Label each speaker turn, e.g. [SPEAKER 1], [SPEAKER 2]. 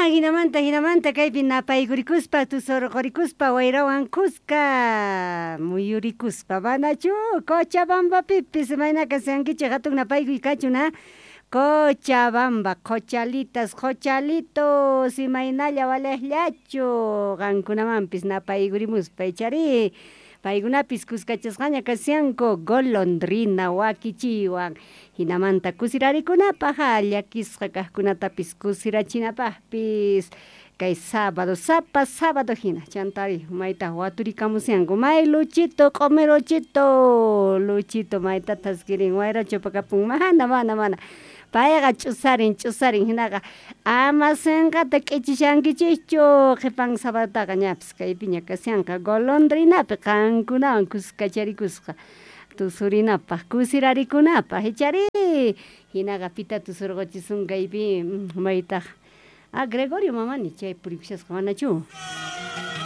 [SPEAKER 1] Jinamanta jinamanta kaypi napaykurikuspa tusurqurikuspa wayrawan kuska muyurikuspa manachu Cochabambapipis imayna kashankichik hatun napaykuy kachun a Cochabamba qochalitas qochalitos imaynalla waliqllachu qankunamanpis napaykurimuspa ichari paykunapis kuskachasqaña kashanku golondrina wakichiywan hinamanta kusirarikunapaq llakisqa kaqkunatapis kusirachinapaqpis kay sábado sapa sábado hina chantari mayta waturikamushanku may Luchito q'umiruchito Luchito mayta thaskirin wayrachu apakapun mana mana mana payqa ch'usarin ch'usarin hinaqa ama sinqata k'ichishankichikchu qhipan sabadotaqa ñapis kaypiña kashanqa golondrinapi qankunawan kuskacharikusqa tusurinapaq kusirarikunapaq ichari hinaqa pita tusurquchisun kaypi maytaq a Gregorio Mamani chay purikushasqa manachu.